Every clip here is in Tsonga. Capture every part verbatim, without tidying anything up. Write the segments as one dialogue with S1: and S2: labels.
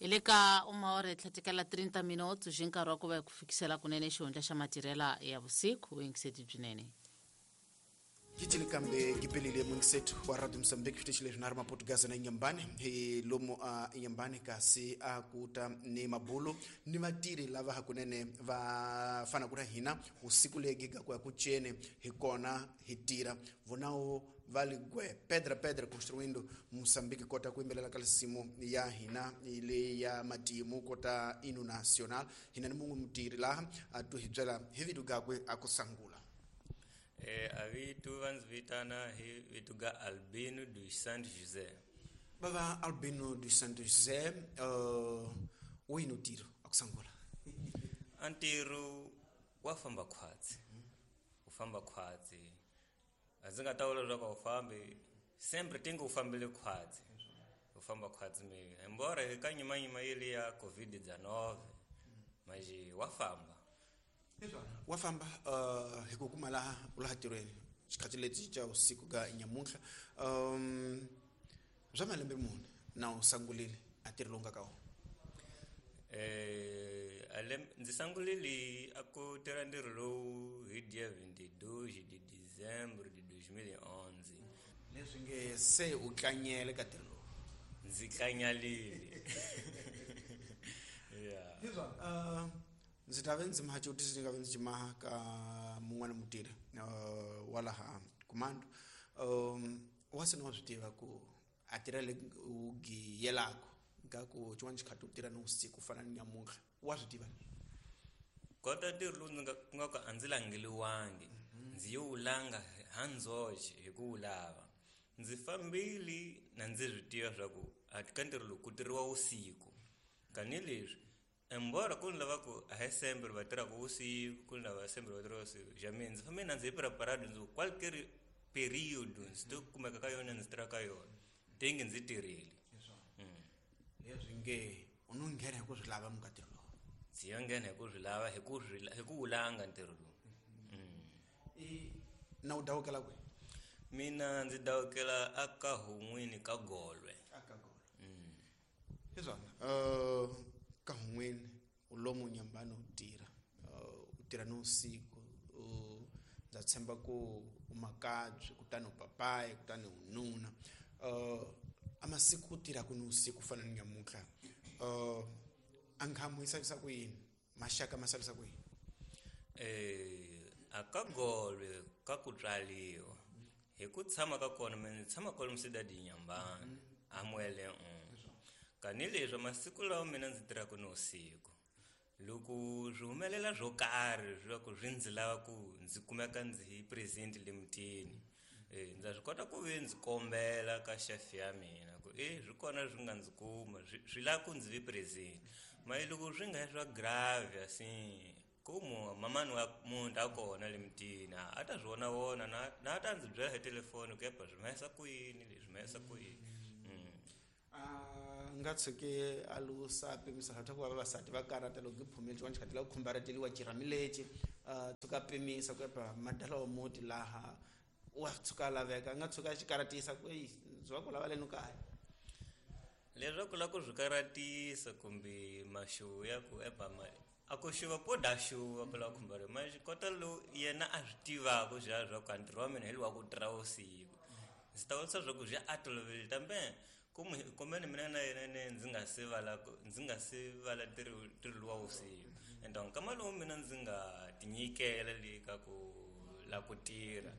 S1: Hi le ka uma hora hi tlhatekela trinta minutos hi nkarhi wa ku va hi ku fikisela kunene xihundla xa matirhela ya vusiku vuyingiseti byinene.
S2: Gitili kambe gipelile mungisetu wa Radio Mozambique xitichi leswi na ri maportugaza na Inhambane hi lomu a Inhambane kasi a kuta ni mabulu ni vatirhi lava hakunene va fana ku na hina usiku legi ga ku ya ku cene hi kona hi tirha vonawo va ligwe pedra pedra construindo Mozambique kota ku yimbelela ka lisimu ya hina le ya matimu kota inu national hina ni mun'we mutirhi laha a tu hi byela hi vito gakwe a ku sangula.
S3: Eh, a vito va ndzi vitana hi vito ga Albino dos Santos José.
S2: Bava Albino dos Santos José, uh, wini ntirho a ku sangula?
S3: A ntirho wa famba khwatsi. U famba khwatsi. A ndzi nga ta vula leswaku a wu fambi, sempre tinga u fambile khwatsi. U famba khwatsi mi. Embora hi ka nyimanyima yeli ya COVID dezenove, mas wa famba.
S2: Wa famba uh, hi ku kuma laha u laha tirhweni xikhathi lexi xa usiku ga nyamuntlha um bya malembe mune na u sangulile a ntirho lowu nga ka wona?
S3: Eh, alembe ndzi sangulile a ku tirha ntirho lowu hi dia vinte e dois de dezembro de dois mil e onze.
S2: Leswi nge se u tlanyele ka ntirho lowu?
S3: Ndzi tlanyalile. Yeah.
S2: Hizwa, uh, ndzi ta ve ndzi maha xivutiso ndzi nga ve ndzi xi maha ka mun'wana mutirhi uh, wa laha Comando um wa se ni wa swi tiva ku a tirha le u giyelaka ka ku xin'wana xikhathi u tirha ni vusiku ku fana ni nyamuntlha wa swi tiva?
S3: Kota ntirho lowu ndzi nga ku nga ku a ndzi langeliwangi ndzi yo wu langa ha ndzoxe hi ku wu lava. Ndzi fambile na ndzi swi tiva swa ku a ka ntirho lowu ku tirhiwa vusiku tanihileswi embora ku ni lava ku a hi sempre va tirhaka vusiku ku ni lava sempre va tirhaka vusiku xa mina ndzi fambe na ndzi hi preparado ndzi ku qualquer período ndzi to kumeka ka yona ndzi tirha ka yona tingi ndzi tirhile.
S2: Leswi nge u no nghena hi ku swi lava muka ntirho lowu?
S3: Ndzi yo nghena hi ku swi lava hi ku swi hi ku wu langa ntirho lowu.
S2: I na u dawukela kwihi?
S3: Mina ndzi dawukela a ka Hun'wini ka Golwe.
S2: A ka Golwe. Hi swona. Uh, ka Hun'wini u lomu Inhambane u tirha uh, u tirha ni vusiku uh, ndza tshemba ku u makabye kutani u papayi kutani u nuna uh, a masiku ku tirhaka ni vusiku ku fana ni nyamuntlha uh, a nkhamu yi salisa ku yini maxaka ma salisa ku yini?
S3: Eh, a ka Golwe ka ku tswaliwa hi ku tshama ka kona mina ndzi tshama kwalomu Cidade Inhambane a Muele un kanileswi masiku lawa mina ndzi tirhaka ni vusiku loko swi humelela swo karhi swa ku swi ndzi lava ku ndzi kumeka ndzi hi present le mutini eh ndza swi kota ku ve ndzi kombela ka chef ya mina ku eh swi kona swi nga ndzi kuma swi lava ku ndzi vi present mali loko swi nga swa grave assim ku mamani wa munhu a kona le mutini a ta swi vona vona na na ta ndzi byela hi telefoni ku epa swi mahisa ku yini leswi mahisa ku yini.
S2: A nga tshuki a lusa pimisa swa ku va vavasati va karata loko giphumile xin'wana xikhathi la ku khumbareteliwa cirhamilexi uh, tshuka pimisa ku epa madala wa muti laha wa tshuka laveka a nga tshuka a xi karatisa ku eyi ndzi va ku lava leno kaya
S3: leswaku la ku swi karatisa kumbe maxuwu ya ku epa ma a ku xuva po da xuva ku lava khumbariwa ma kota lowu yena a swi tivaka swa swa ku a ntirho wa mina hi lowa ku tirha vusiku ndzi ta vutisa swa ku swi a toloverile tambe kumbe kumbe mina na yena ne ndzi nga se vala ndzi nga se vala ntirho ntirho lowa vusiku and nkama lowu mina ndzi nga tinyikela le ka ku la ku tirha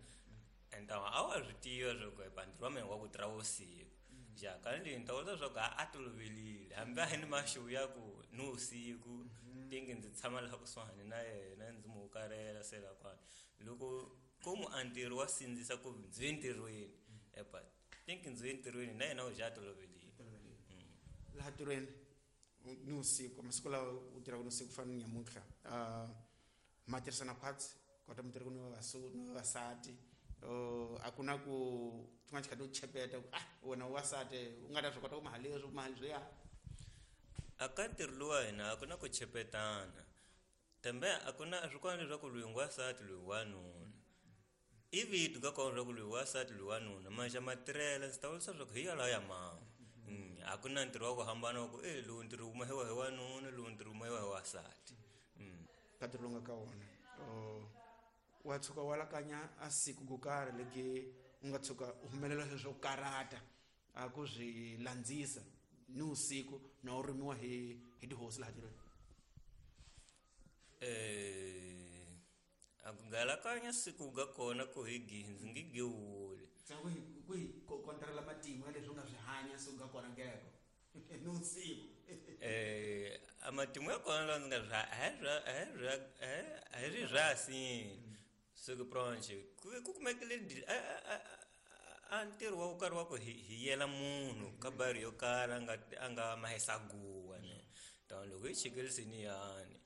S3: and a wa swi tiva swa ku epa ntirho wa mina wa ku tirha vusiku ja kanileswi ni ta vula swa ku a tolovelile hambi a hi ni maxuwu ya ku ni vusiku tingi ndzi tshama laha kusuhani na yena ndzi mu hukarela se la kwani loko ku mu a ntirho wa sindzisa ku ndzi ye ntirhweni epa tingi ndzi ye ntirhweni na yena u ja tolovelile.
S2: Laha ntirhweni ni vusiku masiku lawa u tirhaka ni vusiku ku fana ni nyamuntlha uh, ma tirhisana khwatsi kota mi tirhaka ni ni vavasati uh, a ku na ku xin'wana xikhathi u chepeta ku ah wena u wasati u nga ta swi kota ku maha leswi ku maha leswiya?
S3: A ka ntirho lowu wa hina a ku na ku chepetana tambe a ku na swi kona leswaku loyi ngwasati loyi wanuna i vito ka kona leswaku loyi wasati loyi wanuna maxa matirhela ndzi ta vurisa leswaku hi yalawa ya mama. A ku na ntirho wa ku hambana wa ku e lowu ntirho wu mahiwa hi wanuna, lowu ntirho wu mahiwa hi wansati.
S2: Ka ntirho lowu nga ka wona wa tshuka wa lakanya a siku ko karhi legi u nga tshuka u humelela sweswo swo karata a ku swi landzisa ni usiku na u rhumiwa hi hi tihosi laha tirhweni?
S3: Eh a ku galakanya siku ga kona ku hi gindzi ngi gewuli.
S2: Ku hi ku hi kontrela matimu ya leswi u nga swi hanya siku ga kona ngeko ni usiku.
S3: Eh a matimu ya kona lawa ndzi nga swi a hi swa a hi swa a hi ri rasi siku pronche ku ku kumekile a a ntirho wa ku karhi wa ku hi hi yela munhu ka bari yo karhi a nga a nga mahisa guwa ne. Tani loko hi chikelisini yani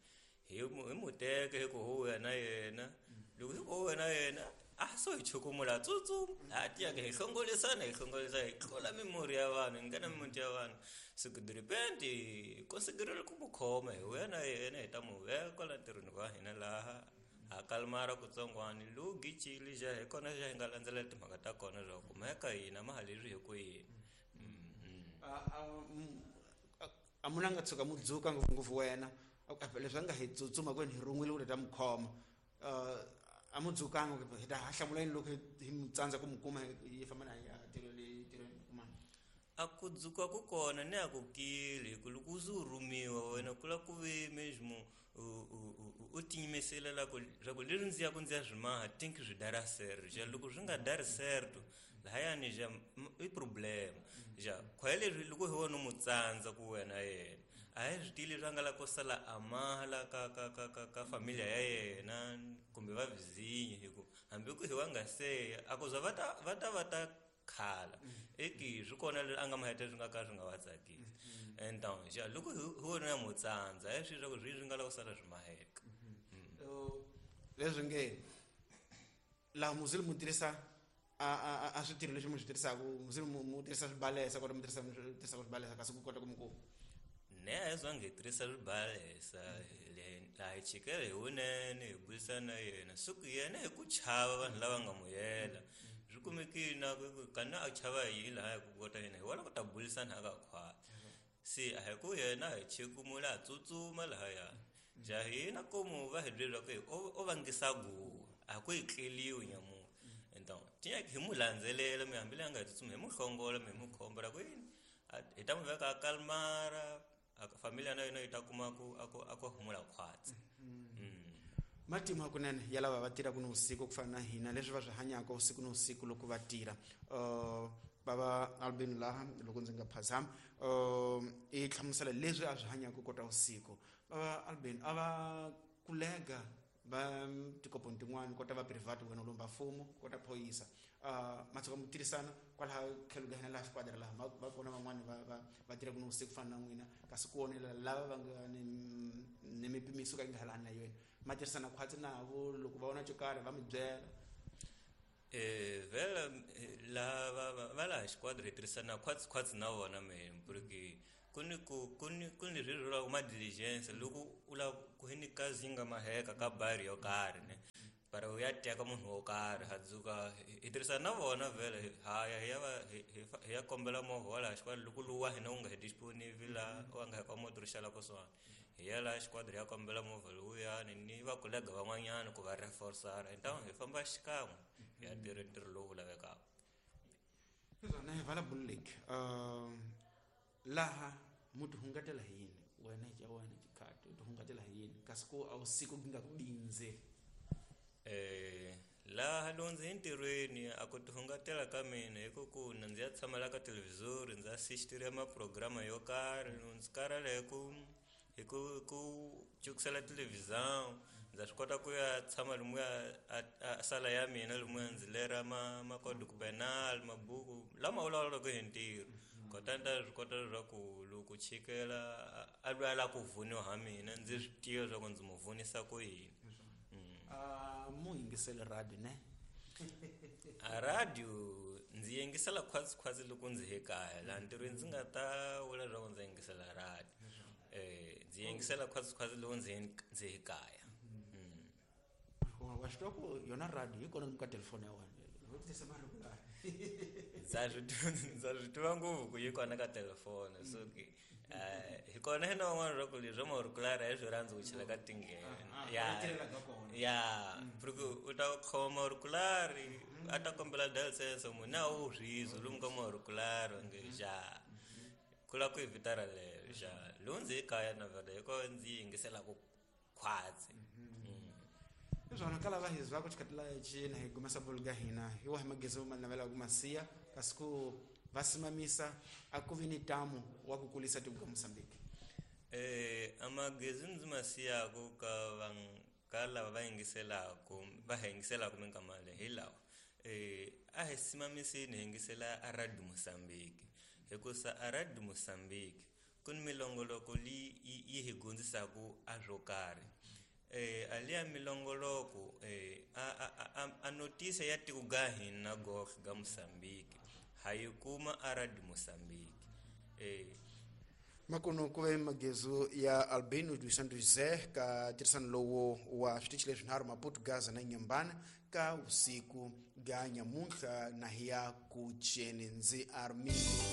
S3: hi hi mu teke hi ku huya na yena, loko hi ku huya na yena a so hi chukumula tsutsuma a tiyaka hi hlongolisana hi hlongolisa hi tlula mimurhi ya vanhu hi nghena mimuti ya vanhu. Siku de repente konsiderele ku mu khoma hi huya na yena hi ta mu veka kwala ntirhweni wa hina laha a kalmara kutsongwani lowu gicile xa hi kona xa hi nga landzelela timhaka ta kona swa ku mhaka hina ma ha leswi hi ku yini.
S2: A munhu a nga tshuka mu dzuka ngopfungopfu wena leswi a nga hi tsutsuma kwini hi rhun'wile ku ta mu khoma a mu dzukanga hi ta hlamula yini loko hi mu tsandza ku mu kuma hi famba na ya tirhweni tirhweni kumana?
S3: A ku dzuka ku kona ni a ku kile hi ku loko u ze u rhumiwa wena ku la ku ve mesmo u tiyimisela la ku swa ku leswi ndzi ya ku ndzi ya swi maha think swi dara certo ja loko swi nga dari certo lahayani ja i problem ja khwaya leswi loko hi wona u mu tsandza ku wena yena a hi swi tivi leswi a nga la ku sala a maha la ka ka ka ka ka familia ya yena kumbe va vizinyi hi ku hambi ku hi wa nga seya a ku za va ta va ta va ta khala eki swi kona leswi a nga ma heta swi nga ka swi nga va tsakisi. Então ja loko hi wona ya mu tsandza a hi swi swa ku swi swi nga la ku sala swi maheka.
S2: Leswi nge laha muzili mu tirhisa a a a switirho leswi mu swi tirhisaka muzili mu mu tirhisa swibalesa kota mu tirhisa mu tirhisaka swibalesa kasi ku kota ku mu kuma?
S3: Ne a hi zangi hi tirhisa swibalesa laha hi chikela hi wunene hi burisana na yena siku yena hi ku chava vanhu lava nga mu yela swi kumekile na ku kana a chava yini laha hi ku kota yena hi wona ku ta burisana a ka khwati se a hi ku yena hi chikumula a tsutsuma lahaya ja hina komu va hi byela ku o vangisa guwa a ku hi tleliwi nyamuntlha. Então tinya hi mu landzelela mi hambi leyi a nga hi tsutsuma hi mu hlongola mi hi mu khomba ra ku yini hi ta mu veka a kalmara familia na yena yi ta kuma ku a ku a ku humula khwatsi.
S2: Matimu hakunene ya lava va tirhaka ni vusiku ku fana na hina leswi va swi hanyaka usiku ni usiku loko va tirha. Bava Albin laha loko ndzi nga phazama i hlamusela leswi a swi hanyaka kota usiku. Bava Albin a va kulega va tikoponi tin'wani kota va private wena lomba mfumo kota phoyisa ma tshuka mu tirhisana kwalaha tlhelo ka hina laha xikwadi laha va kona van'wani va va va tirhaka ni vusiku fana na n'wina kasi ku vonela lava va nga ni ni mipimiso ka yi nga halani na yona ma tirhisana khwatsi navo loko va vona xo karhi va mi byela?
S3: Eh vela la va va laha xikwadi hi tirhisana khwatsi khwatsi na vona mehe porque ku ni ku ku ni ku ni leswi vulaka ma diligence loko u lava ku hi ni kazi yi nga maheka ka bari yo karhi ne para u ya teka munhu wo karhi ha dzuka hi tirhisana na vona vhele ha ya hi ya va hi ya kombela movha wa laha xikwadi loko lowu wa hina wu nga hi disponible laha wa nga hi ka moto ri xala kusuhani hi ya laha xikwadi hi ya kombela movha lowuyani ni va kolega van'wanyana ku va reforsara então hi famba xikan'we hi ya tirha ntirho lowu lavekaka.
S2: Swona hi vala Bull Lake laha mu ti hungatela hi yini wena hi wena xikhati u ti hungatela hi yini kasi ku a wusiku ku nga ku bindzeli?
S3: Eh laha loko ndzi entirhweni a ku ti hungatela ka mina hi ku ku na ndzi ya tshamela ka televhizori ndzi assistira ma-program yo karhi loko ndzi karhala hi ku hi ku ku cukisela televhizão ndza swi kota ku ya tshama lomuya a sala ya mina lomuya ndzi lera ma macódigo penal mabuku lama vulavulaka hi ntirho kota ni ta swi kota leswaku loko chikela a lwa la ku vuniwa ha mina ndzi swi tiva leswaku ndzi mu vunisa ku yini.
S2: Mu yingisele radio ne?
S3: A radio ndzi yingisela khwatsi khwatsi loko ndzi he kaya laha ntirhweni ndzi nga ta vula leswaku ndzi yingisela radio eh ndzi yingisela khwatsi khwatsi loko ndzi ndzi he kaya.
S2: Wa swi tiva ku yona radio yi kona lomu ka telefoni ya wena.
S3: Ndza swi ndza swi tiva ngopfu ku yi kona ka telefoni so ke eh hi kona hina van'wana ra ku leswi maurikulari a hi swi rhandzi ku chela ka tinghena ya ya porque u ta khoma maurikulari a ta kombela dalsenso munhu a wu rhizo lomu ka maurikulari nge ja ku la ku evitara lero ja lowu ndzi yi kaya na vhele hi ko ndzi yingiselaku khwatsi.
S2: Leswona ka lava hi zwaka xikhatila cina hi gumesa bolo ga hina hi wahi magezi ma navelaka masiya kasi ku va simamisa a ku vi ni tamu wa ku kulisa tiko ka Mozambique.
S3: Eh amagezi ndzi ma siyaku ka van ka lava va yingiselaku va hi yingiselaku minkama leyi hi lawa eh a hi simamiseni hi yingisela a Radio Mozambique hikusa a Radio Mozambique ku ni milongoloko leyi yi hi dyondzisaku a swo karhi. Eh aliya milongoloko eh a a a notice ya tiko ga hina goxe ga Mozambique ha yi kuma a Radio Mozambique. Eh
S2: makuno ku ve magezu ya Albino dos Santos José ka tirhisano lowo wa switichi leswinharhu Maputo, Gaza na Inhambane ka usiku ga nyamuntlha na hi ya ku ceni ndzi Armindo.